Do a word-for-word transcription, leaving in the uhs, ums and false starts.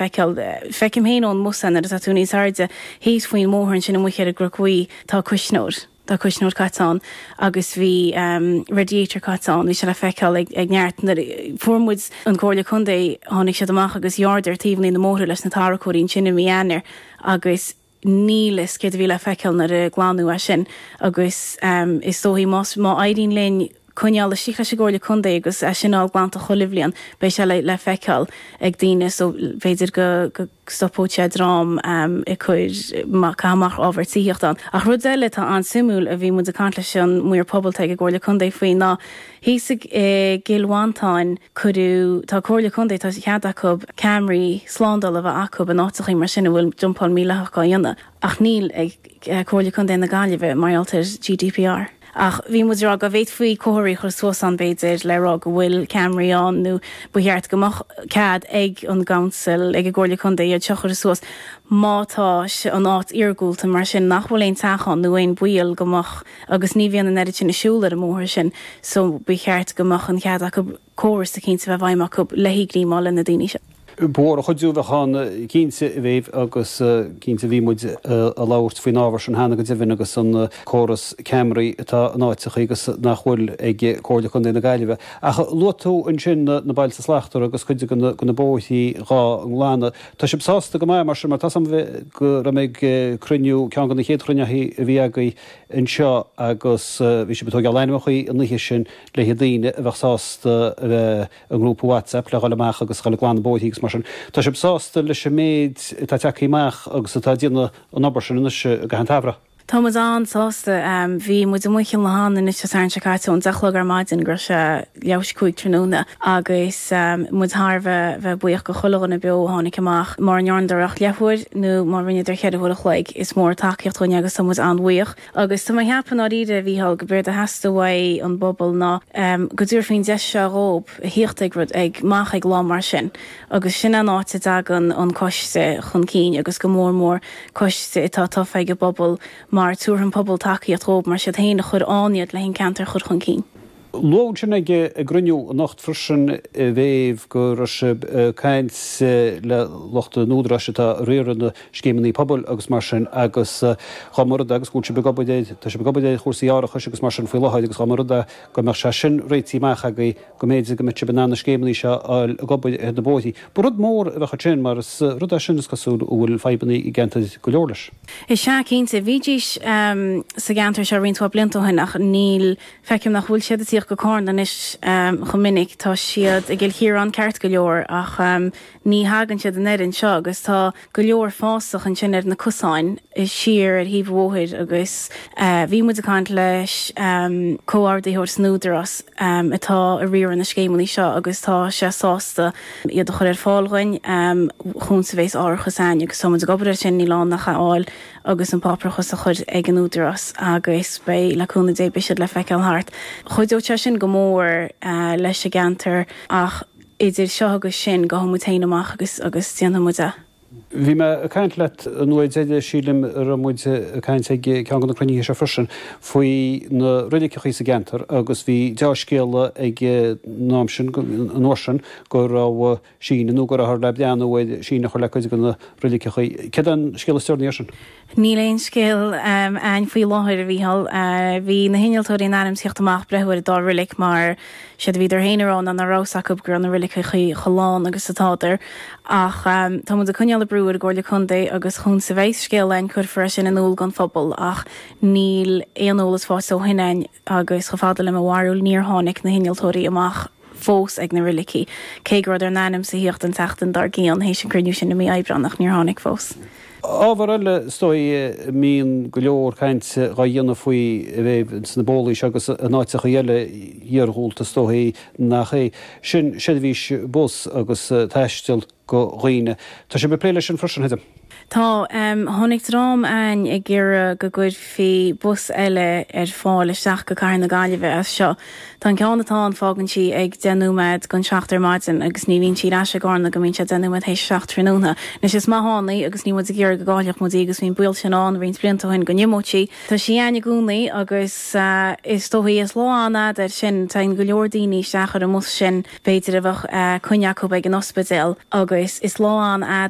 feiceáil. Feicim féin ón mbus nuair atá tú níos airde thíos faoin mbóthar ansin amuigh ar an gCnoc Buí tá cuisneoir. Tá cuisneoir caite ann agus bhí um, radiator caite ann, bhí sé le feiceáil ag, ag neart. Fuair muid an Comhairle Contae tháinig siad amach agus ghearradar taobhanna na mbóithre leis na tarracóirí sin i mí Eanáir agus níl a fhios céard a bhí le feiceáil nuair a glanadh é sin agus um, is dóigh más má éiríonn linn coinneáil istigh leis an gComhairle Contae agus é sin glanta chuile bhliain beidh sé le, le feiceáil ag daoine so b'fhéidir go, go stopóidh sé dream um, ag cur amach ábhar tithíochta. Ach rud eile tá an-suimiúil a bhí muid ag caint leis an maor pobail ag an gComhairle Contae faoi ná thíos i gCill Mhantáin cuireadh tá Comhairle Contae tá cead acu ceamaraí slándála a bheith acu in áiteacha mar sin a bhfuil dumpáil mhídhleathach á dhéanamh ach níl ag eh, Comhairle Contae na Gaillimhe mar gheall ar GDPR. Ach bhí muid rá go bhféadfaí comharthaí a chur suas ann b'fhéidir le rá go bhfuil ceamaraí ann nó ba cheart go mbeadh cead ag an gcouncil ag an gComhairle Contae iad seo chur suas má tá an áit iargúlta mar sin nach bhfuil aon teach ann nó aon bhaol go mbeadh agus ní bhíonn an oiread sin ag siúl ar an mbóthar sin so ba cheart go mbeadh an cead acu córas cinnte bheith feidhm acu le hígrímáil le na daoine seo. Bór a chuidiú bheith an cinnte a bhéh agus cinnte bhí muid ag labhairt faoin ábhar sin cheana go deimhin agus an córas ceamaraí atá in áiteacha agus nach bhfuil ag Comhairle Contae na Gaillimhe. Ach luaigh tú ansin na Bailte Slachtmhara agus cuid de na bóithre dhá nglanadh. Tá sibh sásta go maith mar sin mar tá go raibh mé ag cruinniú ceann de na chéad chruinnithe a bhí agaibh anseo agus bhí sibh ag tógáil ainmneacha an oíche sin le daoine a bheadh sásta a bheith i ngrúpa WhatsApp le dhul amach agus dhul ag glanadh bóithre agus mar sin. Tá sibh sásta leis an méid atá tagtha amach agus atá ag déanamh an obair sin anois go han-tairbheach. Tá muid an-sásta bhí muid amuigh Cill Mothán anois an Satharn seo caite ón deich a chlog ar maidin go sé leathuair théis cúig tráthnóna agus muid thar bheith bheith buíoch go chuile dhuine beo a tháinig amach mar ndearnadar ach leathuair nó má rinneadar ceithre huaire a chloig is mór tacaíocht dúinne agus tá muid an-bhuíoch. Agus tá mé ag ceapadh dáiríre a Mhícheáil go b'éard a theastaigh uaidh an bpobal ná um, go dtabharfaí an deis seo dhóibh a thíocht ag rud ag amach ag lá mar sin. Agus sin an áit a dtagann an coiste chun cinn agus go mór mór coiste atá tofa ag an bpobal mar tabharfaidh an pobal tacaíocht dhóibh mar siad féin a chuir ann iad le an ceantar chur chun cinn. Luadh sin ag ag cruinniú anocht freisin bhéh go raibh sibh caint le lucht an údaráis atá ag riaradh na scéimeanna pobail agus mar sin agus dá mba rud agus go bhfuil sibh ag obair tá sibh ag obair ar chúrsaí árachais agus mar sin faoi láthair agus dá mba rud go mbeadh sé sin réitithe amach agaibh go mb'fhéidir go mbeadh sibh in ann na scéimeanna seo ag obair ar na bóithre. Ba rud mór a bheadh sin mar is rud é sin is cosúil go bhfuil fadhbanna i gceantar go leor leis. Is ea cinnte bhídís um, sa gceantar seo roinnt blianta ó shin ach níl feicim nach bhfuil siad ag tíocht go Carna anois um, chomh minic tá siad ag Cill ceart go leor ach um, ní thagann siad an oiread seo agus tá go leor fásach ansin ar na cosáin is siar ar thaobh an bhóthair agus uh, bhí muid ag caint leis um, comhordaitheoir san Údarás um, atá ag riaradh na scéimeanna seo agus tá sé sásta iad a chur ar fáil dúinn um, chun sa bhééis árachas ain agus tá muid ag obair sin ní lán nach fháil agus an páipéarachas a chur ag an Údarás agus beidh le cúnamh Dé beidh siad le feiceáil thart. Chuideodh sé sin go mór uh, leis an gceantar ach idir seo agus sin gabhfaidh muid féin amach agus agus déanfaidh muid é. Bhí mé ag caint leat an uair deiridh sílim raibh muid ag caint ag ceann de na cruinnithe seo freisin faoi na roiligeacha sa gceantar agus bhí dea-scéala ag an am sin an uair sin go raibh síneadh nó go raibh le breathnú ar síneadh a chur le cuid de na roiligeacha. Céard an scéal is deireanaí sin? Níl aon scéal um, ann faoi láthair a Mhícheáil. Uh, bhí na hinnealtóirí in ainm tíocht amach breathnú ar an dá reilig mar siad a bhí féin rá ná raibh a fhios acu go raibh na roiligeacha chomh lán agus atádar ach um, tá muid ag coinneáil brú ar an gComhairle Contae agus chun sa bheith scéal ein cuirfear sin in iúl don phobal ach níl aon eolas fós ó shin ann agus chomh fada le mo bharúil níor tháinig na hinnealtóirí amach fós ag na roiligeacha. Cé go raibh in ainm is a thíocht an tseachtain dár gcionn théis an cruinniú sin i mí Aibreáin ach níor tháinig fós. Ábhar eile is dóigh a mbíonn go leor caint á dhéanamh faoi bheith sna bólaí agus in áiteacha eile iargúlta is dóigh nach é sin seirbhís bus agus taisteal do dhaoine. Tá sibh ag plé leis sin freisin thuidim. Tá um, tháinig dream ann ag iarraidh go gcuirfí bus eile ar fáil isteach go Cathair na Gaillimhe as seo. Tá an ceann atá ann fágann sí ag deich nóiméad don seacht ar maidin agus ní bhíonn sí ar ais i gCarna go mbíonn sé deich nóiméad théis seacht tráthnóna. Anois is maith ann í agus ní muid ag iarraidh go gcaillfeadh muid í agus bhí'n baol sin ann roinnt blianta ó shin go n-imeodh sí. Tá sí ann i gcónaí agus uh, is dóigh is lá an-fhada air sin tá go leor daoine isteach ar an mbus sin b'fhéidir a bheadh uh, coinne acu ag an ospidéal agus is lá an